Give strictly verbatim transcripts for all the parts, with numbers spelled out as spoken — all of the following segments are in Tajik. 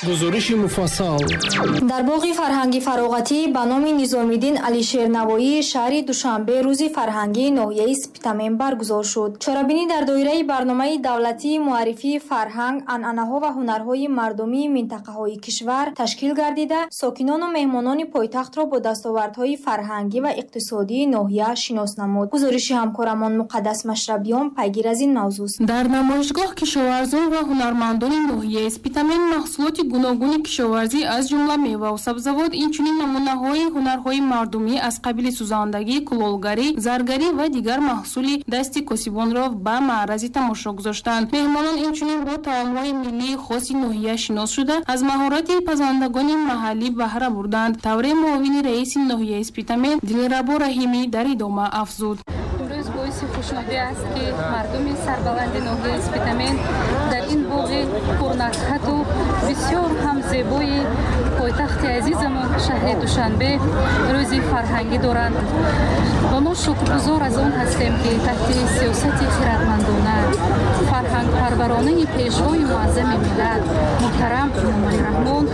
Гузориши муфассал. Дар боғи фарҳанги фароғатӣ ба номи Низомиддин Алишер Навоии шаҳри Душанбе рӯзи фарҳангии ноҳияи Спитамен баргузор шуд. Чорабинӣ дар доираи барномаи давлатии муаррифии фарҳанг, анъанаҳо ва ҳунарҳои мардумии минтақаҳои кишвар ташкил гардида, сокинону меҳмонони пойтахтро бо дастовардҳои фарҳангӣ ва иқтисодии ноҳия шинос намуд. Гузориши ҳамкорамон Муқаддас Машрабиён пайгир аз ин мавзӯст. Дар намоишгоҳ кишоварзон ва ҳунармандони ноҳияи Спитамен маҳсулоти гуногуни кишоварзӣ, аз ҷумла меваву сабзавот, инчунин намунаҳои ҳунарҳои мардумӣ аз қабили сӯзандагӣ, кулолгарӣ, заргарӣ ва дигар маҳсули дасти косибонро ба маърази тамошо гузоштанд. Меҳмонон инчунин бо таомҳои миллии хоси ноҳия шинос шуда, аз маҳорати пазандагони маҳаллӣ баҳра бурданд. Тавре муовини раиси ноҳияи Спитамен Дилрабо Раҳимӣ дар идома афзуд. Имрӯз боиси хушнудӣ аст, ки мардуми сарбаланди ноҳияи Спитамен дар ин боғи пурнакҳату бисёр ҳам зебои пойтахти азизамон шаҳри Душанбе рӯзи фарҳангӣ доранд ва мо шукргузор аз он ҳастем, ки таҳти сиёсати хирадмандона, фарҳангпарваронаи пешвои муаззами миллат муҳтарам Эмомалӣ Раҳмон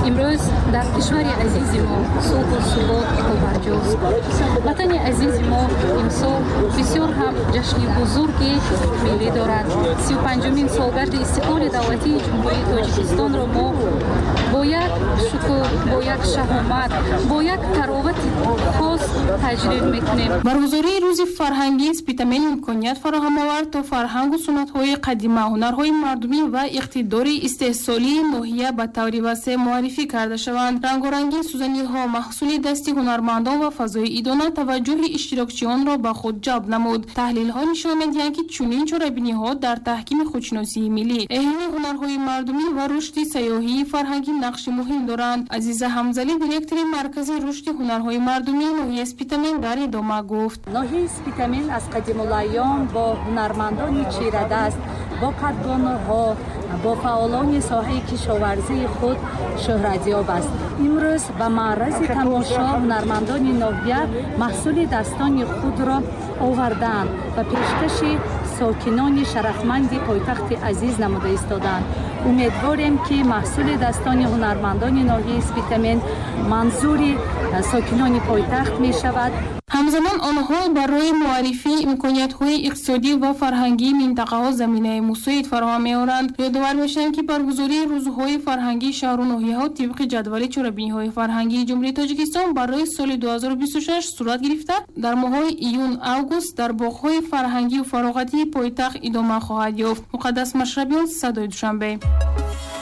имрӯз дар кишвари азизи мо сулҳу субот побарҷост. Ватани азизи мо имсол бисёр ҳам ҷашни бузурги миллӣ дорад. Сию панҷумин солгарди истиқлоли давлатии Ҷумҳурии Тоҷикистонро мо бо як шукӯҳ, бо як шаҳомат, бо як таровати хос таҷлил мекунем. Баргузории рӯзи фарҳангии Спитамен имконият фароҳам овард, то фарҳангу суннатҳои қадима, ҳунарҳои мардумӣ ва иқтидори истеҳсолии ноҳия ба таври васеъ муаррифӣ карда шаванд. Рангорангии сӯзаниҳо, маҳсули дасти ҳунармандон ва фазои идона таваҷҷӯҳи иштирокчиёнро ба худ ҷалб намуд. Таҳлилҳо нишон медиҳанд, ки чунин чорабиниҳо дар таҳкими худшиносии миллӣ, эҳёи ҳунарҳои мардумӣ ва рушди сайёҳии фарҳангӣ нақши муҳим доранд. Азиза Ҳамзалӣ, директори Маркази рушди ҳунарҳои мардумии ноҳияи Спитамен, дар идома гуфт: Ноҳияи Спитамен аз қадимулайём бо ҳунармандони чирадаст, бо кадбонуҳо, бо фаъолони соҳаи кишоварзии худ шӯҳратёб аст. Имрӯз ба маърази тамошо ҳунармандони ноҳия маҳсули дастони худро овардаанд ва пешкаши сокинони шарафманди пойтахти азиз намуда истодаанд. Умедворем, ки маҳсули дастони ҳунармандони ноҳияи Спитамен манзури сокинони пойтахт мешавад. Ҳамзамон онҳо барои муаррифии имкониятҳои иқтисодӣ ва фарҳангии минтақаҳо заминаи мусоид фароҳам меоранд. Ёдовар мешавем, ки баргузории рӯзҳои фарҳангии шаҳру ноҳияҳо тибқи ҷадвали чорабиниҳои фарҳангии Ҷумҳурии Тоҷикистон барои соли ду ҳазору бисту шаш сурат гирифта, дар моҳҳои июн, август дар боғҳои фарҳангию фароғатии пойтахт идома хоҳад ёфт. Муқаддас Машрабиён, Садои Душанбе.